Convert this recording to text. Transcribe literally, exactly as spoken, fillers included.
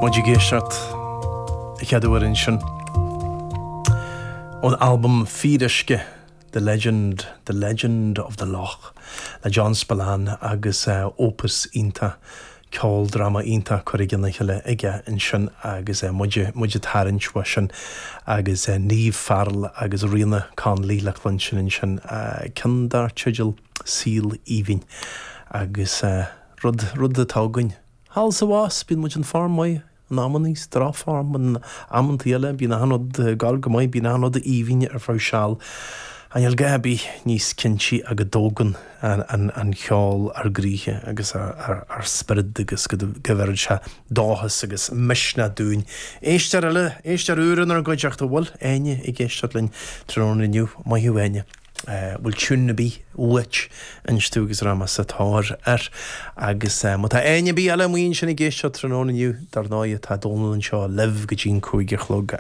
Muid ag éisteacht chéad uair ansin ón albam Fíoruisce The Legend, The Legend of the Loch le John Spillane agus uh, opus iontach ceoldráma iontach curtha le chéile aige ansin agus uh, muid muid ag tarraingt uaidh sin agus uh, Niamh Farrell agus Ríona Connolly le cluinstin ansin uh, ceann dar teideal Saol Aoibhinn agus uh, rud rud atá againn. Thall sa bhás bíonn muid in form maith in amannaí drochfhorm in amannaí eile bíonn an rud gal go maith bíonn an rud aoibhinn ar feadh seal. An bhfuil gá bí níos cinntí a go dtógann an, an, an ceol ár gcroíthe agus ár spiorad agus go bhfuil sé dóchas agus misneach dúinn. Éisteoir eile éisteoir úr inár gcuideachta bhfuil Áine ag éisteacht linn tráthnóna inniu maith thú Áine. bhfuil tiún ar bith uait instú agus rama sa tóir ar agus má tá éinne bí eile muoin sin ag éisteacht tráthnóna inniu dar ndóigh tá Dónal anseo libh go dtí'n cúig a chlog